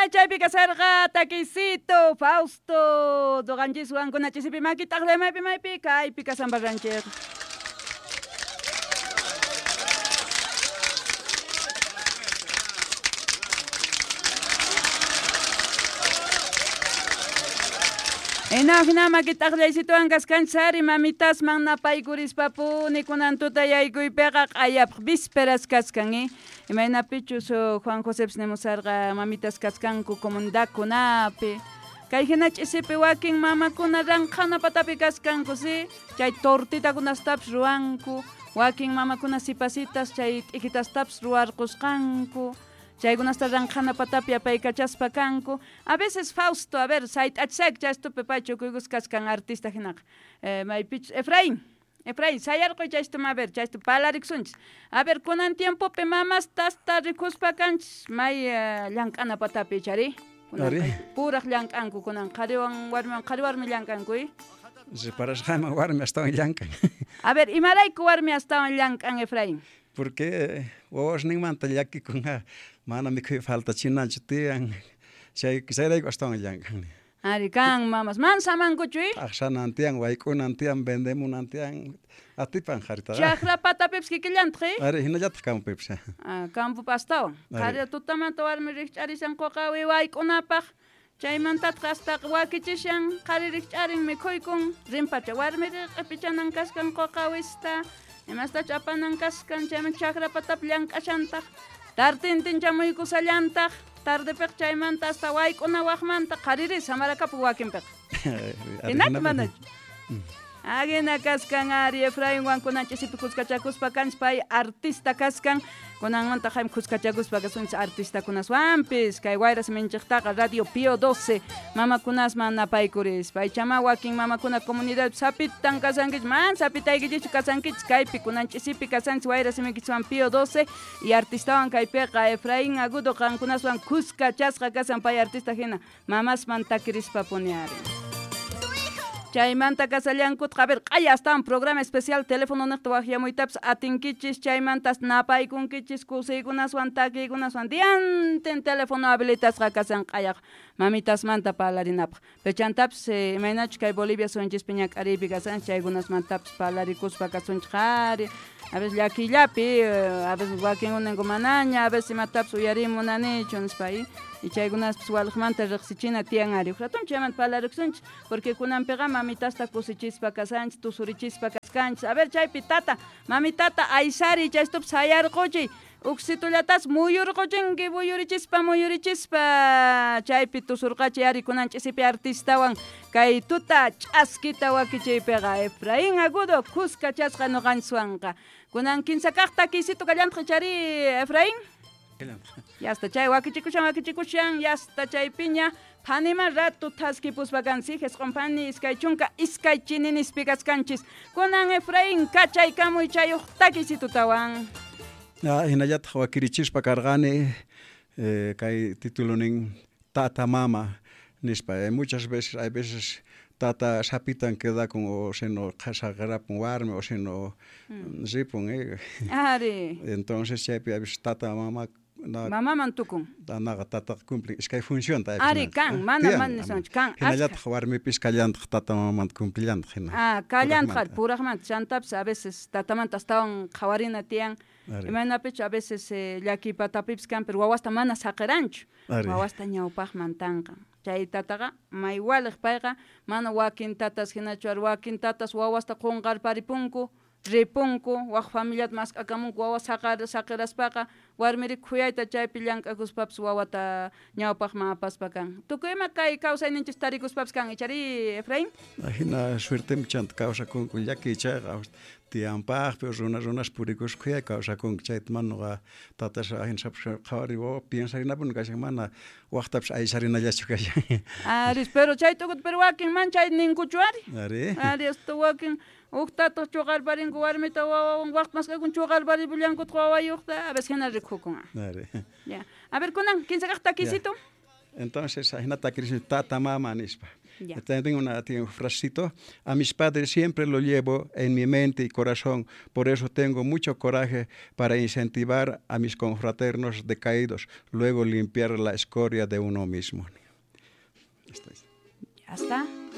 Chaypi kasarqa takisito Fausto noqanchiswan kunachisipi makitaq maypi maypi kaypi kasambarranchik. Hina makitaqllaysituwan kaskanchis mamitasman napaykurispa-puni kunan tuta yaykuypiqa q'ayapaq vísperas kaskan, imaynapichus Juan Josepis nimusarqa mamitas kaskanku comunidadkunapi kay hina ch'isipi wakin mamakuna ranqhana patapi kaskanku, si chay tortitakunastapis ruwanku, wakin mamakuna sipasitas chay t'ikitastapis ruwarqusqanku, chaykunasta ranqhana patapi apaykachaspa kanku. A veces Fausto, a ver, sayt'achisayku chaystupi pay chukuykus kaskan artista hinaqa. Maypichus Efraín, Efraín, sayarquy chaystuma, a ver, chaystu parlarikusunchis. A ver, kunan tiempopi mamastasta rikuspa kanchis may llank'ana patapi chari. Puraq llank'anku kunan qhariwan warmiwan, qhari warmi llank'anku, Reparasqayman warmi astawan llank'an. A ver, imarayku warmi astawan llank'an, Efraín? Porque wawasninmanta llakikun, mana mikhuy faltachinanchu tiyan, chayrayku astawan llank'an. Ari kan mamas, man samankuchu, T'aqsanan tiyan, wayk'unan tiyan, vendemunan tiyan, atipan qharitaqa. Chakra patapipis kikillantaq, Ari hinallataq campopipis. Ah, campopi astawan. Qhari tutamanta warmi rikch'arishan quqawi wayk'unapaq, chaymantataq hasta wakichishan, qhari rikch'arin mikhuykun, rinpacha warmi q'ipichanan kaskan quqawista, imastach apanan kaskan, chayman chakra patapi llank'ashantaq, tartintin chamuykusallantaq, tardepiq chaymanta hasta wayk'una waqmanta qhariri samarakapuq wakinpiq. Hinachu manachu? Agina kaskan ari Efrainwan kunan ch'isipi kuskachakuspa kanchis pay artista kaskan, kunanmanta jaym kuskachakuspa kasunchis artistakunaswanpis kay wayra siminchiktaqa Radio Pío 12 mamakunasman napaykurispa ichama wakin mamakuna comunidad sapitan kasankichis man sapitaykichikchu kasankichis kaypi kunan ch'isipi kasanchis wayra simiykichiswan Pío 12 y artistawan kaypiqa Efraín Agudo qankunaswan kuskachasqa kasan pay artista hina mamasman takirispa puni ari. Chaymanta kasallankutqa, a ver, q'aya astawan programa especial teléfono niqta waqyamuytapis atinkichis, chaymantas napaykunkichis kusiykunaswan takiykunaswan diantin teléfono habilitasqa kasan q'ayaq mamitasmanta parlarinapaq. Pechantapis imaynachus kay Bolivia sunchispi ñak'ariypi kasanchis chaykunasmantapis parlarikuspa kasunchik qhari, a veces llakiyllapi, a veces wakin uninku manaña, a veces imatapis uyarimunanichu nispa, y chaykunaspis waliqmanta riqsichina tiyan ari. Uqratun chaymanta parlarikusunchis, porque kunanpiqa mamitasta kusichispa kasanchis, tusurichispa kaskanchis. A ver, chaypi tata, mamitata aysari chaystupi sayarquchiy, uksitullatas muyurquchinki, muyurichispa, muyurichispa, chaypi tusurqachiy ari kunan ch'isipi artistawan kay tuta ch'askita wakichiypiqa Efraín Agudo kuskachasqa ñuqanchiswanqa. Kunan kinsa kaq takisito kallantaq chari Efraín. Yasta chay wakichikushan, wakichikushan, yasta chaypiña phanima rato thaskipuspa kansi, jesq'un phani iskay chunka iskay chininispi kaskanchis. Kunan Efraín kachaykamuy chayuq takisitutawan. Hinallataq wakirichispa karqani, kay titulonin Tata Mama nispa. Muchas veces, hay veces tata sapitan quedakun o sino qhasaqarapun warmi o sino ripun, Ari. Entonces chaypi a veces tata mama mamaman tukun. Naqa tata cumple iskay función ta. Ari kan, mana mana nisunchu, kan. Hinallataq warmipis kallantaq tata mamamanta cumplillantaq hina. Ah, kallantaq puraqmanta chantapis a veces tatamanta astawan qhawarina tiyan. Imaynapichu a veces llakiy patapipis kan, pero wawasta mana saqiranchu. Wawasta ñawpaqman tanqan. Chay tataqa may waliq payqa mana wakin tatas hinachu ari wakin tatas wawasta qunqarparipunku, ripunku, waq familiata mask'akamunku wawa saqiraspaqa warmiri khuyayta chaypi llank'akuspapis wawata ñawpaqman apaspa kan. Tukuy ima kay kawsayninchis tarikuspapis kan, ichari Efraín? Hina suertem chanta kawsakunku llakiy chayqa tiyanpaqpi runa runas purikuspa khuyay kawsakunku chayta manuqa tatas hina sapis qhawari wawa piensarinapuni kashan mana waqtapis aysarinallachu kashan. Ari, pero chay tukuta pero wakin man chay ninkuchu ari. Ari. Ari, hasta wakin uqtataq chuqarparinku warmita wawawan waqt mask'akun chuqarparipullankutaq wawayuqta, a veces hina rikukun. Ari. Ya. A ver, kunan, kinsa kaq takisito. Entonces, hina takirismi tata mama nispa. Ya. Tengo una, tiene un frasecito. A mis padres siempre lo llevo en mi mente y corazón, por eso tengo mucho coraje para incentivar a mis confraternos decaídos, luego limpiar la escoria de uno mismo. Esto es. Ya está.